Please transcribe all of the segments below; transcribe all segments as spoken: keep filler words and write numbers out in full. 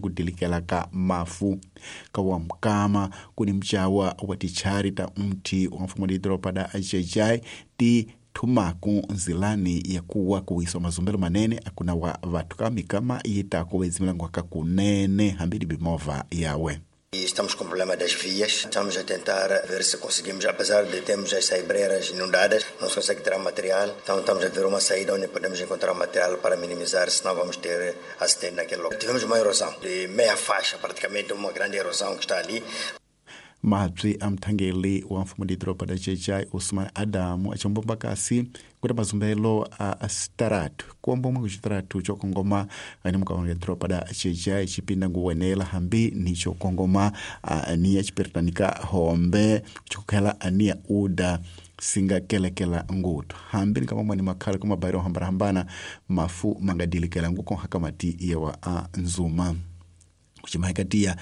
kudilikela ka mafu ka wa mkama kuni mchawa wa tichari ta mti wa mfumo didropa da Xai-Xai ti thumaku nzilani ya kuwa kuwiswa mazumbelo manene akuna wa vathu ka mikama yita kuwezimilango kakunene hambili bimova yawe. Estamos com o problema das vias, estamos a tentar ver se conseguimos, apesar de termos as saibreiras inundadas, não se consegue tirar material, então estamos a ver uma saída onde podemos encontrar material para minimizar, senão vamos ter acidente naquele local. Tivemos uma erosão de meia faixa, praticamente uma grande erosão que está ali. Mabyi a mthangeli wa mfumo didoroba da Xai-Xai Osman Adamu achombomba kasi kuti mazumbelo a sitaratu kuombomwe kuxitaratu cokongoma ani mukaonga doroba da Xai-Xai cipinda nguwenela hambi ni cokongoma aniya cipertanika hombe cokukhela aniya uda singakelekela ngutu hambi ni kamamwani makhala ka mabairo hambanahambana mafu mangadilikela ngukonha mati yewa a nzuma kucimahikatiya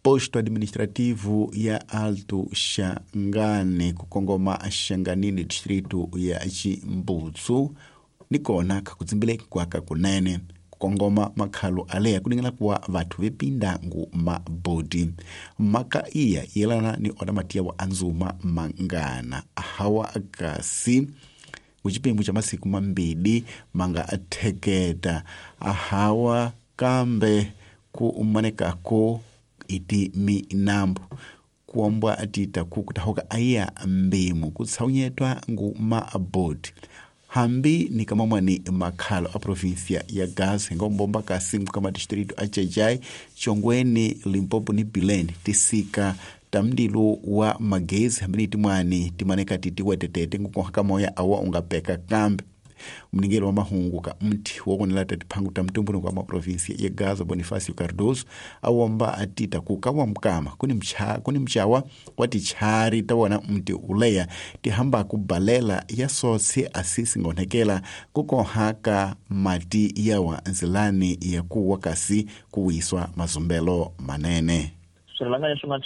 posto administrativo ya Alto Xangane kukongoma Xanganini distrito ya Chimbutsu nikona kakudzimbile kwaka kunene kukongoma makhalo aleya kuningana kuwa vathu vipinda ngu mabodi maka iya yelana ni oda matiya wa anzuma mangana ahawa kasi kuchipembu cha masiku mambili manga atheketa ahawa kambe kuumanekako iti minambo kuombwa atita kukutahoka aya mbimu kutsaunyetwa ngu maabodi hambi ni kamamwani makhalo a província ya Gaza ngombomba kasi kama distrito a Xai-Xai Chongweni Limpopo ni Bilene tisika tamdilu wa magezi hambi ni timwani timaneka titiwetetete ngukonha moya awa ungapeka kambe mningelo wa mahungu ka mti wokonela tatiphangu ta mtumbunuko wa maprovinsia ya Gaza Bonifacio Cardoso awomba atita kukawa mkama kuni mcha kuni mchawa wa tichari tawona mti uleya tihamba kubalela ya sotsi asisi ngonekela kukonhaka mati yawa nzilani ya kuwa kasi kuwiswa mazumbelo manene. Swirhalanganyi swi nga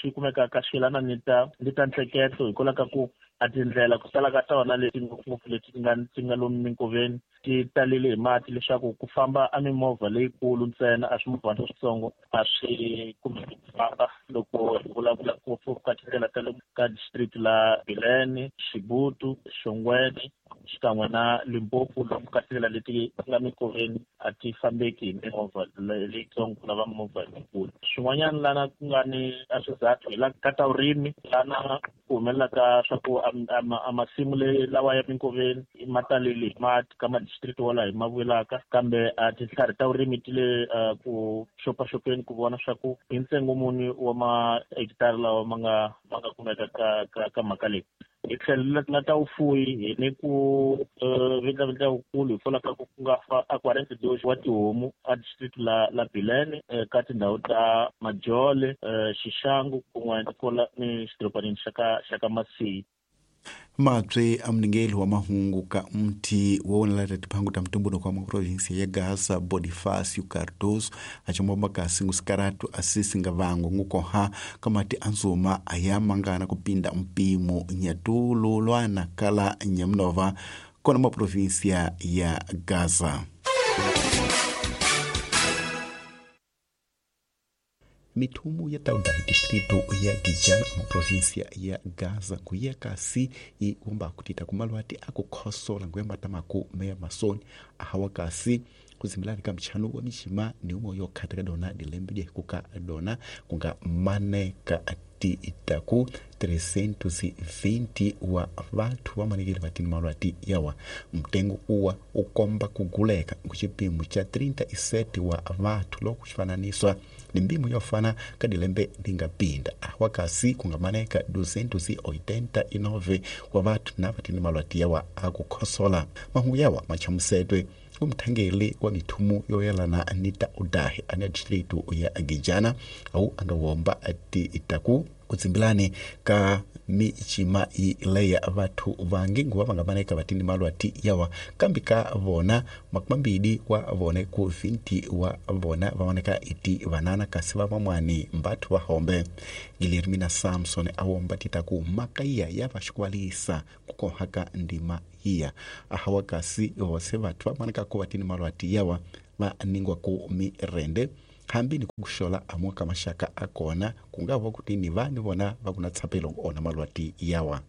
swi kumekaka swi yelana ni ta ni ta ntsheketo hikwalaho ka ku a tindlela ku tala ka tona leti ngopfungopfu leti ti nga ti nga lomu minkoveni ti talele hi mati leswaku ku famba a mimovha leyikulu ntsena a swimovhana leswitsongo a swi kumeki ku famba loko hi vulavula ngopfu ka tindlela ta le ka district la Bilene, Xibutu, Xongweni xikan'we na Limpopo lomu ka tindlela leti nga minkoveni a ti fambeki hi mimovha leyitsongo ku lava mimovha leyikulu. Swin'wanyana lana ku nga ni a swizathu hi la ka ta vurimi lana ku humelelaka swa ku a masimu le lawa ya minkoveni ma talele hi mati ka madistrict wala hi ma vulaka kambe a tintlhari ta vurimi ti le ku xopaxopeni ku vona swa ku hi ntsengo muni wa mahekitara lawa ma nga ma nga kumeka ka ka ka mhaka leyi. Hi tlhelo la ta vufuwi hi ni ku vindlavindla wukulu hikwalaho ka ku ku nga fa a quarante dois wa tihomu a district la la Bilene ka tindhawu ta Majole, Xixangu kun'we ni ni xidorobanini xa ka xa ka Masiyi. Mabye a mningeli wa mahungu ka mti wowonela tatiphangu ta mtumbunuko wa maprovinsia ya Gaza Bonifacio Cardoso achombomba kasi ngusikaratu asisi nga vango ngukoha kamati anzuma ayamangana kupinda mpimo nyatulu lwana kala nyamnova kona maprovinsia ya Gaza. Mithumu ya tauda distrito ya Gijana mu província ya Gaza kuya kasi i umba kutita kumalwati akukhosola nguyamba tamaku meya masoni ahawa kasi kuzimilani ka mchanu wa mishima ni umo yokhata ka dona dilembe kuka dona kunga mane ka ti itaku trezentos e vinte wa vathu vamanekele vatini malwati yawa mtengo uwa ukomba kuguleka kuchipimo cha trinta e sete wa vathu loko xifananiswa ni mbimo yofana ka dilembe lingapinda awa kasi kungamaneka duzentos e oitenta e nove wa vathu na vatini malwati yawa akukhosola mahungu yawa machamusetwe umthangeli wa mithumu yoyelana anita udahi ane distrito ya Gijana au angawomba ati itaku kutsimbilani ka michima ileya vathu vangi nguva vangamaneka vatini malwati yawa kambi ka vona makumambili wa vone ku vinte wa vona vaoneka iti vanana kasi va vamwani mbathu va hombe. Guilhermina Samson awomba titaku makaiya ya vaxikwalisa kukohaka ndima hiya ahawa kasi vose vathu vamaneka ku vatini malwati yawa va ningwa ku mirende hambi ni ku xola amwa ka maxaka a kona ku nga va kuti ni va ni vona va ku na tshapelo ona malwati yawa.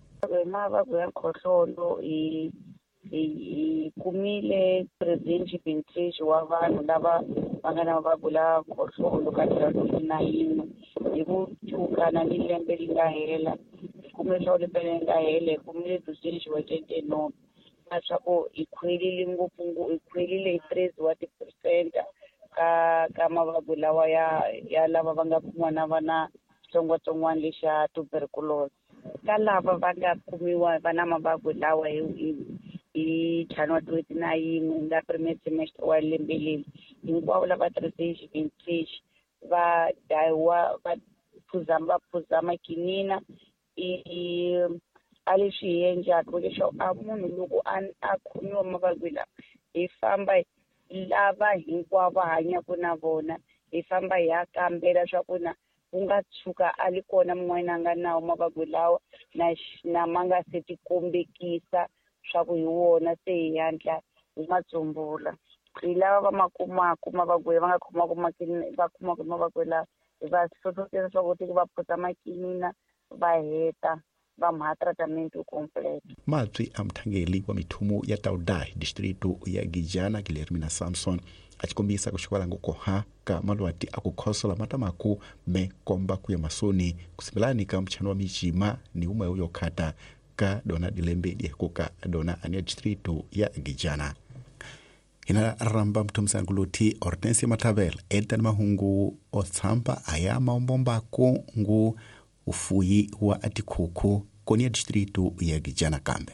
Mavabyi ya khohlolo hi hi kumile president wa vanhu lava va nga na mavabyi la khohlolo ka twenty nine hi ku chukana ni lembe ri nga hela kumbe swa lembe leri nga hela hi kumile president wa twenty nine leswaku hi khwelile ngopfu hi khwelile hi three wa ti-percent ka ka mavabyi lawa ya ya lava va nga kumiwa na va na xitsongwatsongwana lexa tuberculosis. Ka lava va nga kumiwa va na mavabyi lawa hi hi ntlhanu wa twenty nine nga premier semester wa lembe leri hinkwavo lava tirhise va dayiwa va phuza va phuza makinina i a leswi hi endlaka leswaku a munhu loko a a khomiwa mavabyi lawa hi famba lava hinkwavo va hanyaka na vona hi famba hi ya kambela swa ku na ku nga tshuka a li kona mun'wana a nga nawo mavabyi lawa na na ma nga se ti kombekisa swa ku hi wona se hi hatla hi ma tsumbula. Hi lava va ma kumaka mavabyi va nga khomaka makinina va kumaka mavabyi lawa hi va hlohlotela swa ku va phuza makinina va heta va mha tratament complete. Mabyi a muthangeli wa mithumu ya Taudai distritu ya Gijana Guilhermina Samson a xi kombisa ku xikwala koha ka malwati a ku khosola matamaku me komba ku ya masoni kusimbelani ka mchano wa michima ni umwe uyo khata ka dona dilembe diekuka dona ania distritu ya Gijana. Ina ramba mtumsanguluti Hortensia Mathabela etan mahungu otsampa aya maombombako ngu ufuyi wa atikhuku koni ya distritu ya Gijana kambe.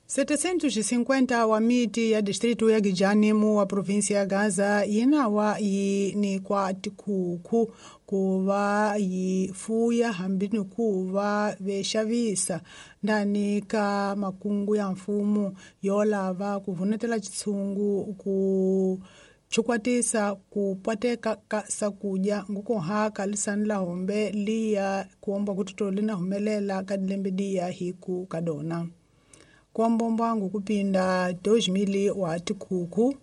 setecentos e cinquenta wa miti ya distrito ya Gijani mu wa província ya Gaza yinawa yi nikwa tikhuku kuva yi fuya hambi ni kuva vexavisa ndani ka makungu ya mfumo yo lava ku vunetela xitshungu ku chukwatisa ku pateka ka sakudya ngukuhaka lisani la hombe liya kuomba kututo lina humelela ka dilembe diya hiku kadona. Kwambombangu kupinda dois mil wa tikhuku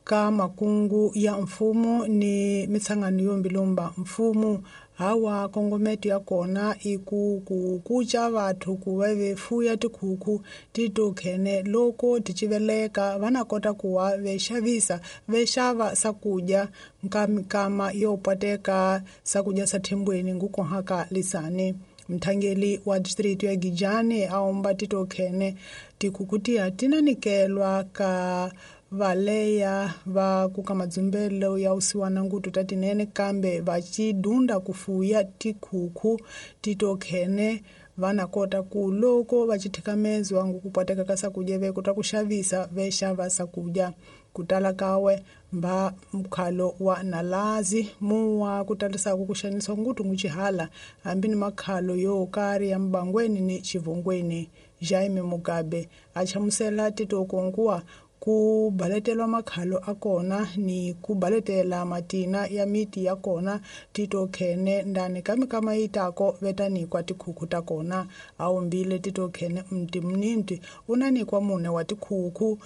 ka makungu ya mfumo ni mitsangano yombilomba mfumo hawa kongometo ya kona iku ku kucha vathu ku va vefuya tikhuku titokhene loko tichiveleka vana kota kuwa vexavisa vexava sakudya nkamikama yo pateka sakudya sa thembweni ngukuhaka lisani. Mthangeli wa district ya Gijani aomba titokhene tikhuku tiya tinanikelwa ka valeya va kuka madzumbelo ya usiwana ngutu tatinene kambe va chidunda kufuya tikhuku titokhene vana kota ku loko va chithikamezwa ngukupateka ka sakudya ve kota ku xavisa ve xava sakudya kutala kawe mba mkhalo wa nalazi muwa kutalisaka ku xanisa ngutu nguchihala hambi ni makhalo yo karhi ya mbangweni ni chivongweni. Jaime Mugabe a chamusela titokonguwa ku baletelwa makhalo a kona ni ku baletela matina ya miti ya kona titokhene ndani ka mikama yitako vetanikwa tikhuku ta kona. Awumbile titokhene mti mninti unanikwa mune wa tikhuku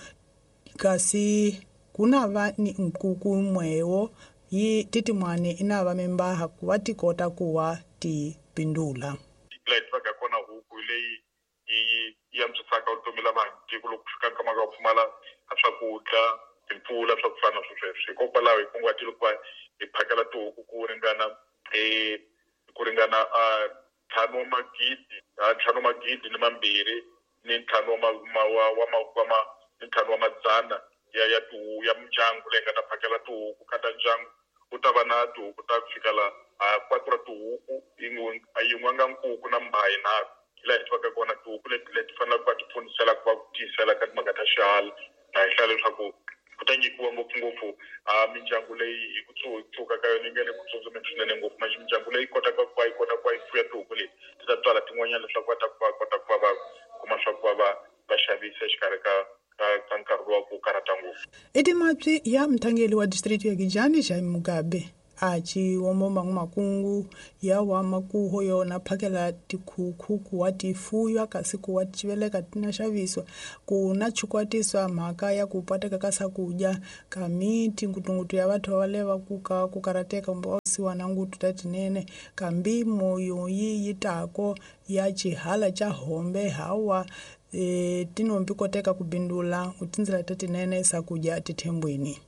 kasi kunava ni nkuku mwewo yi titimwani inava mimbaha kuva tikota kuwa tipindula. Laha kona huku leyi yi yi antswisaka vutomi la vanhu tiko loko ku fika nkama ka ku pfumala a swakudya timpfula swa ku fana na sweswo. Hikokwalaho hi kunguhatile ku va hi phakela tihuku ku ringana ku ringana ntlhanu wa magidi ntlhanu wa magidi ni mambirhi ni ntlhanu wa wa wa wa ni ntlhanu wa madzana ya ya tihuku ya mindyangu leyi nga ta phakela tihuku ka ta ndyangu ku ta va na tihuku ta ku fikela quatro tihuku yin'we yin'we nga nkuku na mbhayi nharhu. Laha hi tivaka kona tihuku leti leti faneleke ku va ti pfunisela ku va ku tiyisela ka timhaka ta xihala na hi hlaya leswaku ku ta nyikiwa ngopfungopfu a mindyangu leyi hi ku tsuka ka yona yi nga le ku tsutsumeni swinene ngopfu manje mindyangu leyi kotaka ku va yi kota ku va yi fuya tihuku leti ti ta tswala tin'wanyana leswaku va ta ku va kota ku va va kuma swa ku va va va xavisa exikarhi ka ka nkarhi lowa ku karhata ngopfu. I timapyi ya muthangeli wa district ya Gijani Jaime Mugabe A ciwombomba makungu ya wa makuho yona phakela tikhukhu kuwa ti fuywa kasi kuwa civeleka tina xaviswa ku na chukwatiswa mhaka ya ku pateka ka swakudya ka miti ngutungutu ya vathu va leva ku ka ku karateka kumbe va na ngutu ta tinene kambi moyo yi yi tako ya xihala xa hombe hawa e, tinombi koteka ku bindula tindzela ta tinene swakudya tithembweni.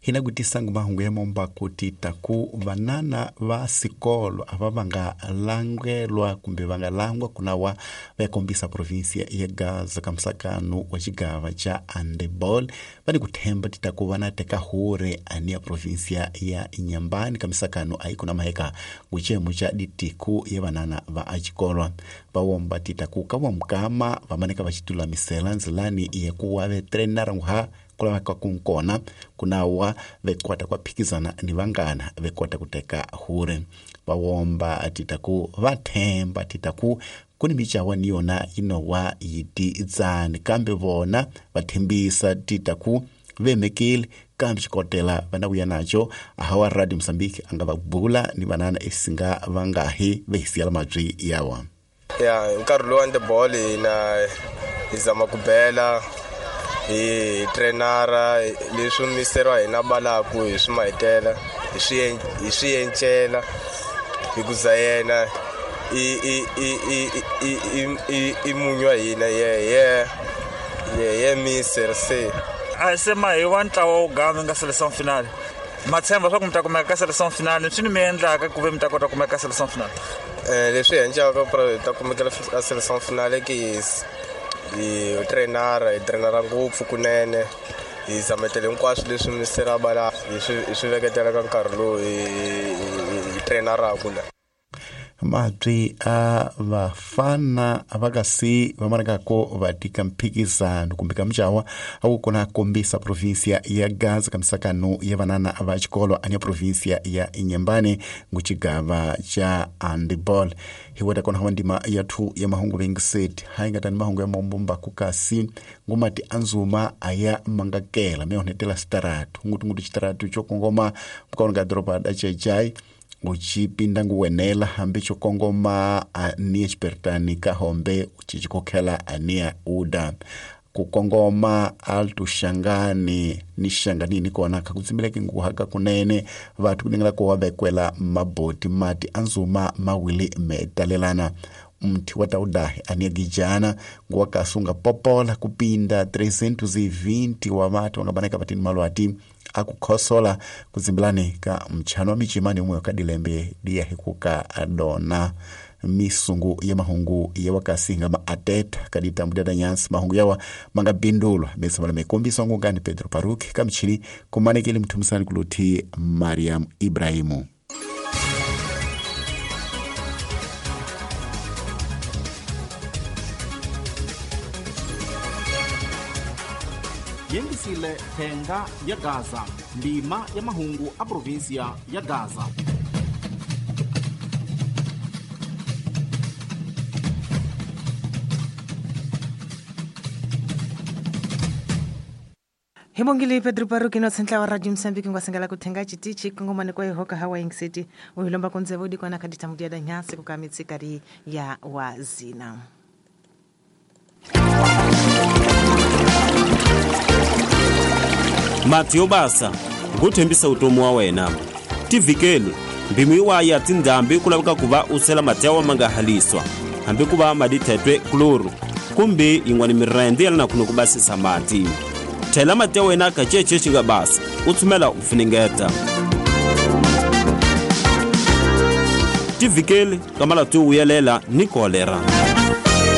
Hina kutisangu mahungu ya momba kuti taku vanana va sikolo ava vanga langelwa kumbe vanga langwa kunawa va kombisa provinsia ya Gaza ka msakano wa xigava xa handeball vani kuthemba titaku vana teka hure ani ya provinsia ya Inhambane ka misakano ayi kuna maheka nguchemo xa ditiku ya vanana va axikolwa va womba titaku ka vamukama vamaneka va xitulamisela ndzilani ya kuwa ve trenara nguha kulava ka kunkona kunawa vekwata kwa phikizana ni vangana vekwata kuteka hure vawomba titaku vathemba titaku kuni michawa ni yona inowa yiti tsani kambe vona vathembisa titaku vemekile kambe xikotela vana vuya naco ahawa Radio Mozambique anga va bula ni vanana esinga vangahi vehisiyela mabyi yawa. Ya hi nkarhi lowu handeball hina hi zama ku bela hi trenara leswi misero wa hina balaku hi swi mahitela hi swi hi swi encela hi ku za yena i i i i i i i munyu wa hina ye ye ye ye mister se a se ma hi wa ntlawa wo gama nga selection finale matshemba swa ku mi ta kumeka ka selection finale swi ni mi endlaka ku ve mi ta kota ku kumeka ka selection finale eh leswi endlaka ku ta kumeka ka selection finale ki hi trenara hi trenara ngopfu kunene hi zametele hinkwaswo leswi misera bala hi swi hi swi veketela ka nkarhi lowu hi hi trenaraku la. Mabyi a vafana a va kasi va manekako va tika mphikizano kumbe ka mucawa a wu kona kombisa provinsia ya Gaza ka misakano ya vanana va xikolo ani ya provinsia ya Inhambane nguchigava xa handeball. Hi weta kona hawa ndima ya thu ya mahungu vengiseti hayi nga tani mahungu ya mombomba kukasi ngumati anzuma aya mangakela me onetela sitaratu ngutungutu xitaratu xo kongoma mukaona ka doroba da Chechai uchipinda nguwenela hambi xokongoma ania xipertani ka hombe uchicikokhela ania uda kukongoma alto xangani ni xanganini kona kha kutsimileke nguhaka kunene vathu kunengela ko vekwela maboti mati anzuma mawili metalelana mthi wa taudahi ania gijana nguwakasunga popola kupinda trezentos e vinte wa vathu vangabaneka vatini malwati akukhosola kudzimbilani ka mchano wa michimani umwe wakadilembe diyahikuka adona misungu ya mahungu ya wakasinga maateta kaditambudada nyansi mahungu yawa mangabindulwa mesamala mekombiswa ngungani Pedro Paruki kamchini kumanekele mthumisani kuluthi Mariam Ibrahimu. Yengisile thenga ya Gaza ndima ya mahungu a provinsia ya Gaza. Himongile Pedro Paruki no tsentla wa Radio Mozambique ngwasengela kuthenga chitichi kongomane kwa ihoka hawa ingiseti uhilomba kunzevudi kwana kaditamudia da nyasi kukamitsikari ya wazina. Mati yo basa nguthembisa utomi wa wena tivikeli mbimu iwaya tindhambi ku laveka ku va u sela mati ya wa ma nga haliswa hambi ku va madithetwe kloro kumbe yin'wana mirende ya lana kuno ku basisa mati thela mati ya wena ka cece xi nga basa u tshumela u funengeta tivikeli ka malati yo vuyelela ni kolera.